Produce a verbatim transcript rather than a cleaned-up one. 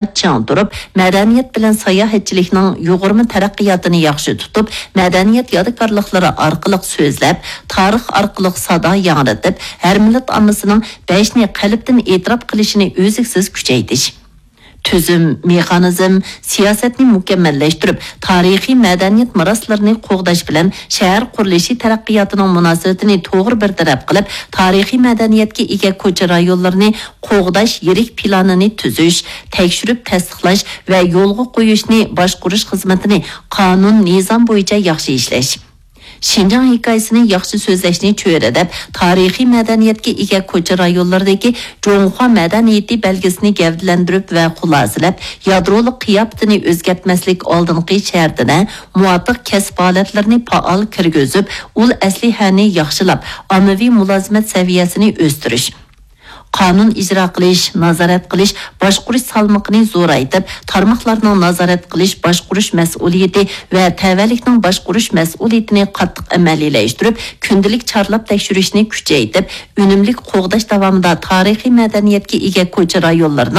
چىڭ تۇرۇپ، مەدەنىيەت بىلەن ساياھەتچىلىكنىڭ يۇغۇرما تەرەققىياتىنى ياخشى تۇتۇپ، مەدەنىيەت يادىكارلىقلىرى ئارقىلىق سۆزلەپ، تارىخ ئارقىلىق سادا ياڭرىتىپ، ھەر مىللەت ئاممىسىنىڭ بەشنى قەلبتىن ئېتىراپ قىلىشىنى ئۈزلۈكسىز كۈچەيتىش. تۈزۈم، مېخانىزم، سىياسەتنى مۇكەممەللەشتۈرۈپ، تارىخىي مەدەنىيەت مىراسلىرىنى قوغداش بىلەن شەھەر قۇرۇلۇشى تەرەققىياتىنىڭ مۇناسىۋىتىنى توغرا بىر تەرەپ قىلىپ، تارىخىي مەدەنىيەتكە ئىگە كوچا رايونلىرىنى قوغداش يىرىك پىلانىنى تۈزۈش، تەكشۈرۈپ تەستىقلاش ۋە يولغا قويۇشنى باشقۇرۇش خىزمىتىنى قانۇن، نىزام بويىچە ياخشى ئىشلەش. شىنجاڭ ھېكايىسىنى ياخشى سۆزلەشنى چۆرىدەپ، تارىخىي مەدەنىيەتكە ئىگە كوچا رايونلىرىدىكى جۇڭخۇا مەدەنىيىتى بەلگىسىنى گەۋدىلەندۈرۈپ ۋە خۇلاسىلەپ، يادرولۇق قىياپىتىنى ئۆزگەرتمەسلىك ئالدىنقى شەرتىدە، مۇۋاپىق كەسىپ ھالەتلىرىنى پائال كىرگۈزۈپ، ئۇل ئەسلىھەنى ياخشىلاپ، ئاممىۋى مۇلازىمەت سەۋىيەسىنى ئۆستۈرۈش. قانۇن ئىجرا قىلىش، نازارەت قىلىش، باشقۇرۇش سالمىقىنى زورايتىپ، تارماقلارنىڭ نازارەت قىلىش، باشقۇرۇش مەسئۇلىيىتى ۋە تەۋەلىكنىڭ باشقۇرۇش مەسئۇلىيىتىنى قاتتىق ئەمەلىيلەشتۈرۈپ، كۈندىلىك چارلاپ تەكشۈرۈشنى كۈچەيتىپ، ئۈنۈملۈك قوغداش داۋامىدا تارىخىي مەدەنىيەتكە ئىگە كوچا رايونلىرىنىڭ